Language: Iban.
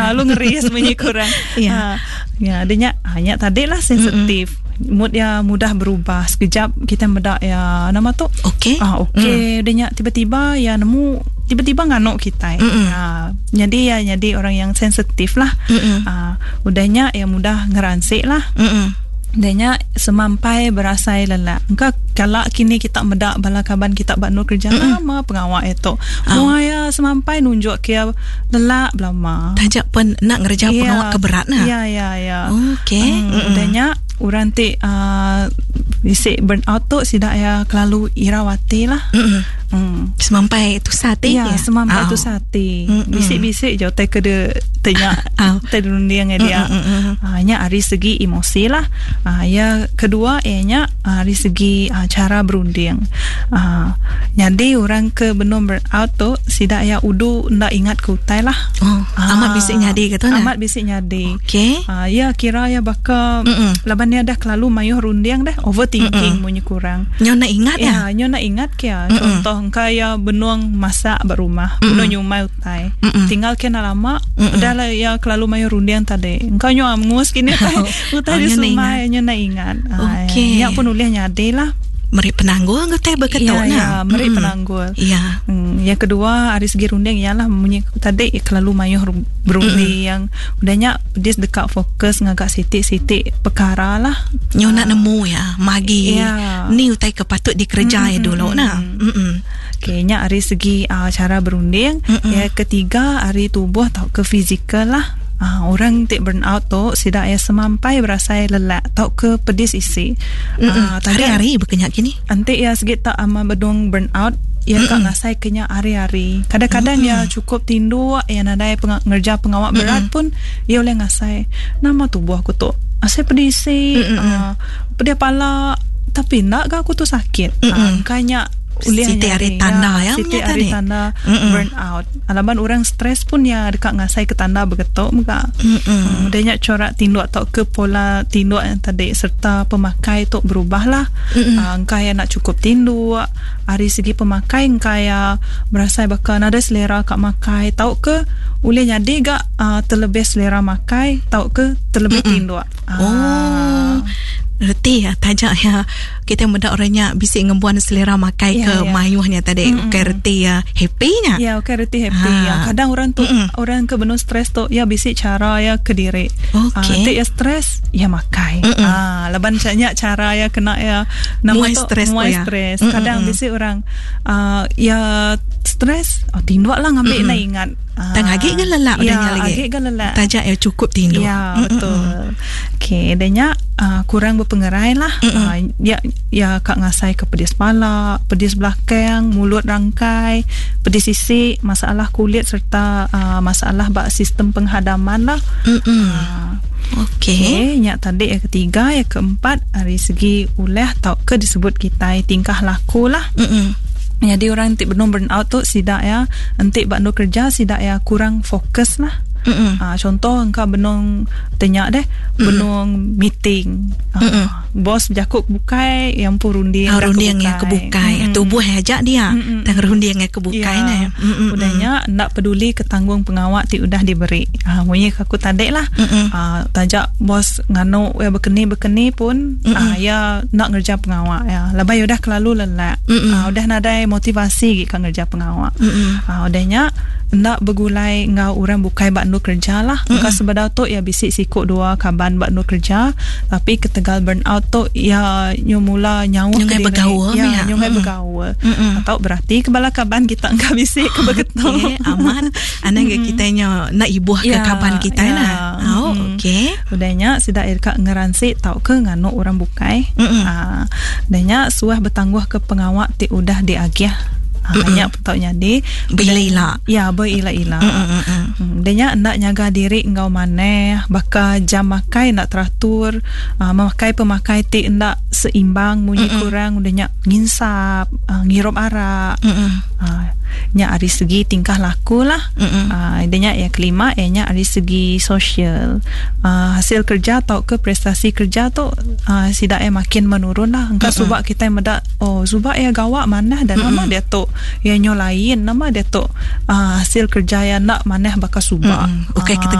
Lalu ngeris munyi kurang. Ya. Ya, dia nya, nya tadi lah sensitif. Mood ya mudah berubah. Sekejap kita meda ya nama tu. Okey. Ah, okey. Dia nya tiba-tiba ya nemu tiba-tiba nganuk kita. Ah, jadi ya jadi orang yang sensitif lah. Ah, udahnya ya mudah ngeransik lah. Danya semampai berasai lelak. Engka kala kini kita meda bala kaban kita ba endur kerja lama pengawa itu. Mua ya semampai nunjuk ke lelak belama. Taja pen nak ngereja pengawa ke berat nah. Ya ya ya. Okey. Udahnya orang ti bisi burn out tu sida ya kelalu irau ati lah. Semampai tusah ati. Ya, semampai tusah ati. Bisi-bisi je utai ke de tanya te runding dia. Nya ari segi emosi lah. Ya kedua iya nya ari segi cara berunding. Nyadi orang ke benung burn out tu sida iya udu enda ingat ke utai lah. Oh, amat bisi nyadi ke tu nah. Amat bisi nyadi. Okey. Ya kira ya baka laban dia dah kelalu mayuh runding dah overthinking munyi kurang. Nyo nak ingat ya. Ya, nyo nak ingat ke ya. Contoh engka ya benung masak ba rumah, benung nyumai utai. Tinggal ke enda lama, udah lah ya kelalu mayuh runding tadi. Engka nyo angus kini utai, utai Oh, di nyo nak sumai nyo nak ingat. Okey. Nya pun ulih nyadi lah. Meri penanggul ke utai beketu Ya, nah. ya, meri penanggul. Yang kedua ari segi runding ialah munyi aku tadi kelalu mayuh berunding. Udah nya dia deka fokus ngaga siti-siti perkara lah. Nyo nak nemu ya, magi. Ni utai ke patut dikereja ya dulu nah. Okey, nya ari segi cara berunding. Yang ketiga ari tubuh tau ke fizikal lah. Orang ti burn out tu sida ya semampai berasai lelak tau ke pedis isi. Hari-hari bekenyak kini. Enti ya segi tak ama bedung burn out, ya ka ngasai kenya hari-hari. Kadang-kadang ya cukup tinduk, ya nadai ngerja pengawak berat pun ya boleh ngasai. Nama tubuh aku tu asai pedis isi, pedih pala, tapi nak ga aku tu sakit. Kanya ulih Siti hari nyari, tanda ya, ya, siti punya hari tadi. tanda burn out. Alaban orang stres pun ya dekat ngasai ke tanda begetuk muka. Dia nyak corak tinduk atau ke pola tinduk yang tadi serta pemakai tu berubah lah. Engkau ya nak cukup tinduk, hari segi pemakai engkau ya berasa bakal ada selera kak makai tau ke ulih nyadi gak terlebih selera makai tau ke terlebih tinduk. Oh. Reti ya, tajak ya. Kita mendak orangnya bisik ngembuan selera makai ke mayuhnya tadi. Okey, reti ya, happy-nya. Ya, okey, reti happy. Ya, kadang orang tu, orang ke benung stres tu, ya bisik cara ya ke diri. Tik ya stres, ya makai. Laban banyak cara ya kena ya nama Muai tu, stres tu muai ya. stres. Kadang bisik orang, ya stres, oh, tinduk lah ngambil nak ingat. Tang agik ke lelak Ya, udahnya lagi? agik ke lelak. Tajak ya cukup tinduk. Ya, betul. Okey, danya, kurang berpengerai lah. Ya, ya kak ngasai ke pedis pala, pedis belakang, mulut rangkai, pedis sisik, masalah kulit serta masalah bak sistem penghadaman lah. Okey, nyak tadi yang ketiga, yang keempat dari segi ulah tau ke disebut kita tingkah laku lah. Jadi orang tik benung burn out tu sidak ya, entik bak kerja sidak ya kurang fokus lah. Contoh engkau benung tanya deh, benung meeting. Bos jakuk bukai yang pun runding dah Runding yang kebukai. kebukai. Tubuh ajak dia. Tang runding yang kebukai nah. Udahnya nak peduli ke tanggung pengawak ti udah diberi. Munyi aku tadi lah. Tajak bos nganu ya bekeni-bekeni pun, ya nak ngerja pengawak ya. Labai udah kelalu lelak. Udah nadai motivasi gi ka ngerja pengawak. Udahnya nak bergulai ngau orang bukai bak nu kerja lah. Maka sebedau tu ya bisik sikuk dua kaban bak nu kerja, tapi ketegal burn out tu ya nyu mula nyawa Nyungai ke diri. bergaul, Ya, ya. nyungai bergaul. Atau berarti kebala kaban kita engkau bisik ke begitu. Okey, aman. Anak kita nyo nak ibuh ke kaban kita nah. Oh, okey. Udahnya sidak irka ngeransik tau ke nganu orang bukai. Udahnya suah bertangguh ke pengawak ti udah diagih. Banyak tau nyadi. Berila-ila. Ya, berila-ila. Dia nya nak nyaga diri engkau maneh, bakal jam makai nak teratur, memakai pemakai ti ndak seimbang, munyi kurang, dia nya nginsap, ngirup arak. Nya ari segi tingkah laku lah. Dia nya yang kelima, ia nya ari segi sosial. Hasil kerja atau ke prestasi kerja tu, sidak makin menurun lah. Engkau subak kita medak, oh subak ya gawak manah dan nama dia tu ya nyo lain, nama dia tu, hasil kerja ya nak manah bakal subak. Okey, kita